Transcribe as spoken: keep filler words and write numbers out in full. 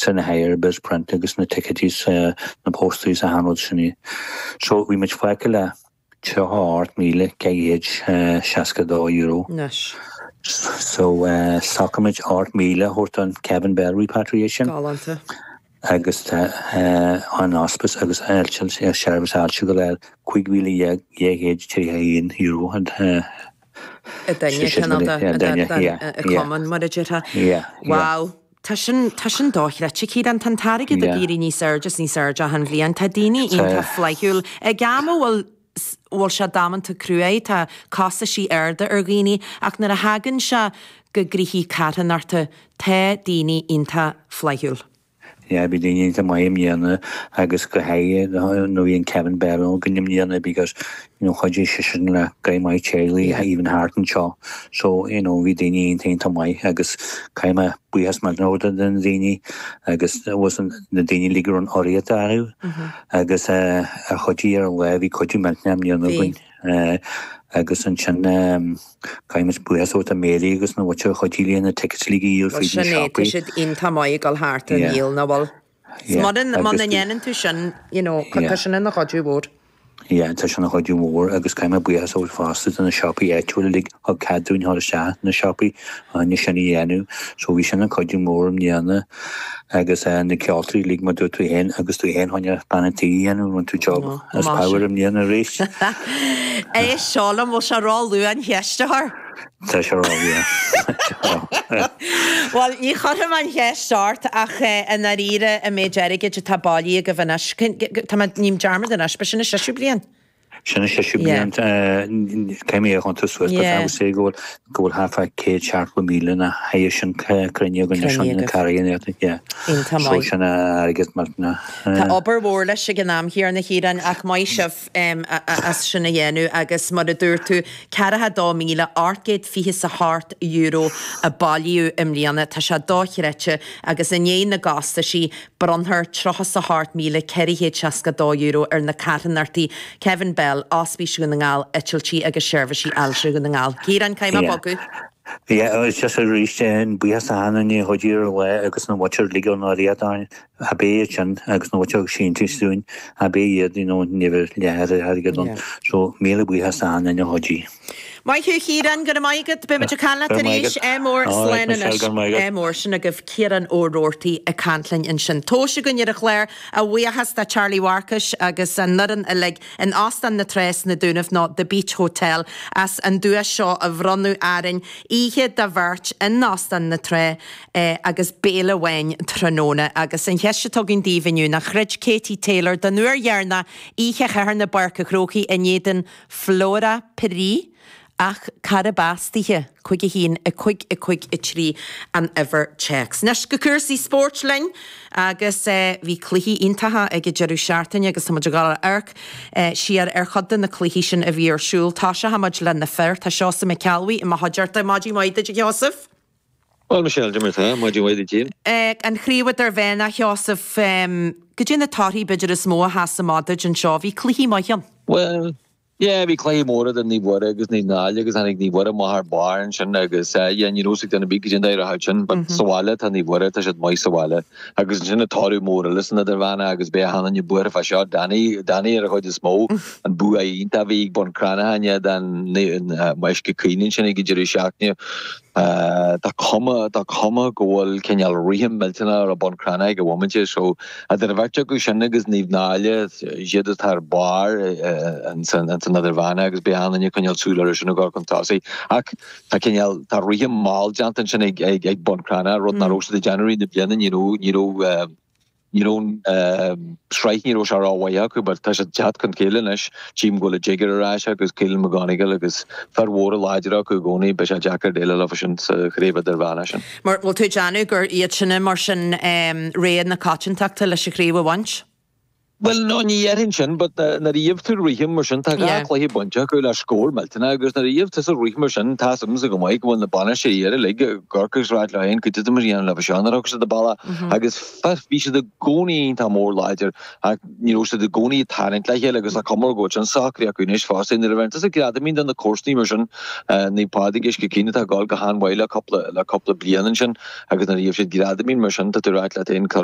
sin na hire print agus na ticketies uh, na posters a hanrod sin. So bhí muid fágtha le tríocha ocht míle ceithre chéad seasca dó euro. Anois. So uh, shocraigh muid ocht míle a thabhairt don Kevin Bell repatriation. Galánta. agus uh, an hospice agus seirbhís ailse go léir cúig mhíle dhéag trí haon euro and uh, cumann mar a déarfá. Wow. Tá sin tá sin dochreidte Ciarán tá an t-airgead ag éirí níos airde is níos airde achan bhliain Tá daoine iontach flaithiúil ag am a bhfuil bhfuil sé damanta cruaidh tá costaisí arda ar dhaoine ach nuair a thagann sé go gnoithí carthanachta tá daoine iontach flaithiúil. Ja, bhí daoine iontach maith i mbliana agus go háirithe nó bhí an Kevin Bell go mbliana because you know chuidigh sé sin le go maith teaghlaigh even thart anseo so you know bhí daoine iontach maith agus caithfidh mé buíochas millteanach den daoine agus was na daoine le gur an áirithe acu agus uh, a chuidigh ar an lá bhí cuidiú millteanach i mbliana againn. Uh, agus ansin caithfidh muid buíochas ó Mary agus na bhute chuidí na tickets le dhíol fríd na siopaí. Tá siad iontach maith ag dul thart an níl na bhfuil. Muna ndéanann tú sin you know, tá sin ina chuidiú mhór. Ja, tá sin chuidiú mór agus caithfidh mé buíochas ó fosta na siopaí áitiúla le thug cead dúinn thar isteach na siopaí an sin a dhéanamh, so bhí sin an chuidiú mór i mbliana agus uh, na ceoltóirí le mar dúirt tú féin agus tú féin choinne bean an tí dhéanamh rinne tú job as power i mbliana arís. É seolam bhfuil sé róluath an cheist a chur? Tá sé róluath. Well, ní chuirfidh mé an cheist ort ach i ndáiríre an méid airgid atá bailithe agaibh anois. Tá ním dearmad anois, ba sin an séú bliain. Sin an séú bliain céimí a chun suas sé go go bhfuil thart fá céad seachtó míle na haie sin cruinne go sin na carraí sin airgead mar na. Tá obair mhór leis ag an am chéanna a Chiaráin ach maith sibh as sin a dhéanamh agus mar a dúirt tú ceathracha dó míle ocht gcéad fiche is a hocht euro a bailíodh i mbliana tá sé dochreidte agus i ndiaidh na gcostaisí bronnfar tríocha is a hocht míle ceithre chéad seasca dó euro ar na carthanachtaí Kevin Bell, Ospís Dhún na nGall, Eitiltí agus Seirbhísí Ailse Dhún na nGall. Ciarán caithfidh mé bogadh. Yeah, it's just arís an buíochas a na chuidigh ar lá agus na bhute le an áiríodáin a bé sin agus na bhute síntiús dúinn a bé iad you know, never leathe airgead an so míle buíochas a na chuidigh. Maith thú Ciarán go raibh maith agat beimid ag caint leat arís ádh mór slán anois ádh mór sin agaibh Ciarán Ó Roarty ag caint linn ansin. Tomhais againn ar an chlár a bhuíochas do Charlie Mharcais agus an fhoireann uilig in Óstán na Trá sna Dúnaibh nó The Beach Hotel as an duais seo a bhronnadh orainn oíche do bheirt in Óstán na Trá eh, agus béile amháin tráthnóna agus an cheist atá againn daoibh inniu ná throid Katie Taylor don uair dheireanach oíche Shathairn i bPáirc an Chrócaigh in éadan Flora Piri ach cárb as dithe cúig a haon a cúig a cúig a trí an uimhir téacs. Anois go cúrsaí spóirt linn agus eh, bhí cluichí iontacha ag an deireadh seachtaine agus táimid ag dul a amharc eh, siar ar chuid de na cluichí sin a bhí ar siúl. Tosóimid le na fir tá Seosamh Mac Ceallbhuí i mo chuideachta maidin mhaith duit a Sheosaimh. Well Michelle Jimmer tá maidin mhaith duit. Eh, an chraobh idirmheánach Sheosaimh cad é na torthaí b'fhéidir is mó a sheas amach duit anseo bhí cluichí maith ann. Well Yeah, bhí cluiche mór idir Naomh Muire agus Naomh Náille agus tháinig Naomh Muire amach ar barr ansin agus uh, yeah, ní raibh duine bí go dtí sin, but mm -hmm. sa bhaile tá Naomh Muire tá siad maith sa bhaile agus ansin an toradh mór eile san idirmheánach agus beidh achan duine buartha fá seo Danny Danny ar a chuid is mó an bua iontach a bhí ag Bun Cranncha den Uisce Caoin sin ag deireadh seachtaine. Uh, tá cuma tá cuma go bhfuil cineál rithim millteanach ar Bun Cranncha ag an bhomaite so idir an bheirt acu sin agus Naomh Náille siad atá ar barr an san idirmheánach agus beidh achan duine ag coinneáil súil ar sin go chun tosaigh ach tá cineál tá rithim mall déanta sin ag ag ag Bun Cranncha rud nach raibh siad ag déanamh na bliana ní raibh ní raibh ní raibh sraith ní raibh sé rómhaith acu, but tá sé teacht chun chéile anois tchím go bhfuil Jigger ar ais agus Keelan McGonigal agus fear mhóra láidir acu i gcónaí beidh sé deacair déileáil leo sin sa chraobh idirmheánach sin. Mar bhfuil tú ag déanamh gur iad sinne mar sin rogha na coitiantachta leis an chraobh a bhaint? Well no ní dhéarfainn sin, but nuair a gheobhaidh tú rithim mar sin tá dhá chluiche bainte acu le scór millteanach agus nuair a gheobhaidh tusa rithim mar sin tá agamsa go maith go bhfuil na bainisteoirí uilig Corcaigh is rá leo féin go dtí mar dhéanamh le seo nuair a thug siad a bealach agus bhí siad i gcónaí iontach mór láidir ach ní raibh siad i gcónaí ag tarraingt le chéile agus tá cuma go bhfuil sin socraithe acu anois fosta nuair a bhíonn tusa greadamín de na comharsanaí mar sin Naomh Pádraig Uisce Caoin atá ag dul go han-mhaith le cúpla le cúpla bliain ansin agus nuair a gheobhaidh siad greadamín mar sin tá tú ag rá leat féin